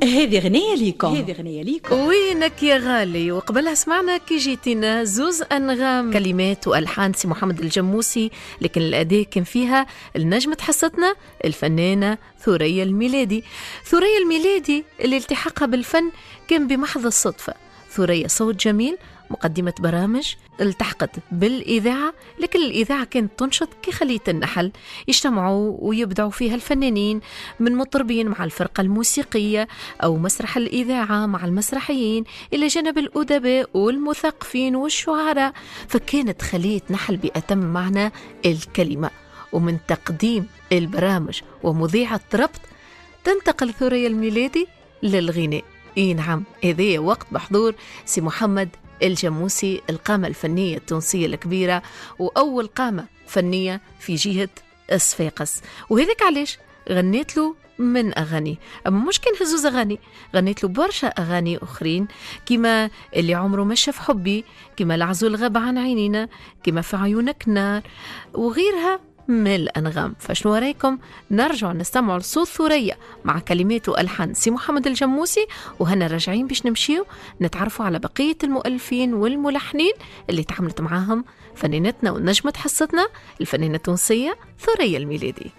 هذه غنية ليكم، هذه غنية ليكم. وينك يا غالي. وقبلها سمعنا كي جيتينا زوز أنغام، كلمات وألحان سي محمد الجموسي، لكن الأداء كان فيها النجمة حصتنا الفنانة ثريا الميلادي. ثريا الميلادي اللي التحقها بالفن كان بمحض الصدفة. ثريا صوت جميل، مقدمة برامج، التحقت بالإذاعة، لكن الإذاعة كانت تنشط كخلية النحل، يجتمعوا ويبدعوا فيها الفنانين من مطربين مع الفرقة الموسيقية أو مسرح الإذاعة مع المسرحيين، إلى جانب الأدباء والمثقفين والشعراء. فكانت خلية نحل بأتم معنى الكلمة. ومن تقديم البرامج ومذيعة ربط تنتقل ثريا الميلادي للغناء. إيه نعم، هذا وقت بحضور سي محمد الجموسي، القامة الفنية التونسية الكبيرة وأول قامة فنية في جهة صفاقس. وهذاك علاش غنيت له من أغاني، أما مش كان هزوز أغاني، غنيت له برشا أغاني أخرين، كما اللي عمره ما شاف حبي، كما العزول غاب عن عينينا، كما في عيونك نار، وغيرها من الأنغام. فشنو رايكم نرجع نستمع لصوت ثريا مع كلمات وألحان سي محمد الجموسي، وهنا راجعين باش نمشيو نتعرفوا على بقية المؤلفين والملحنين اللي تعاملت معاهم فنانتنا ونجمة حصتنا الفنانة التونسية ثريا الميلادي.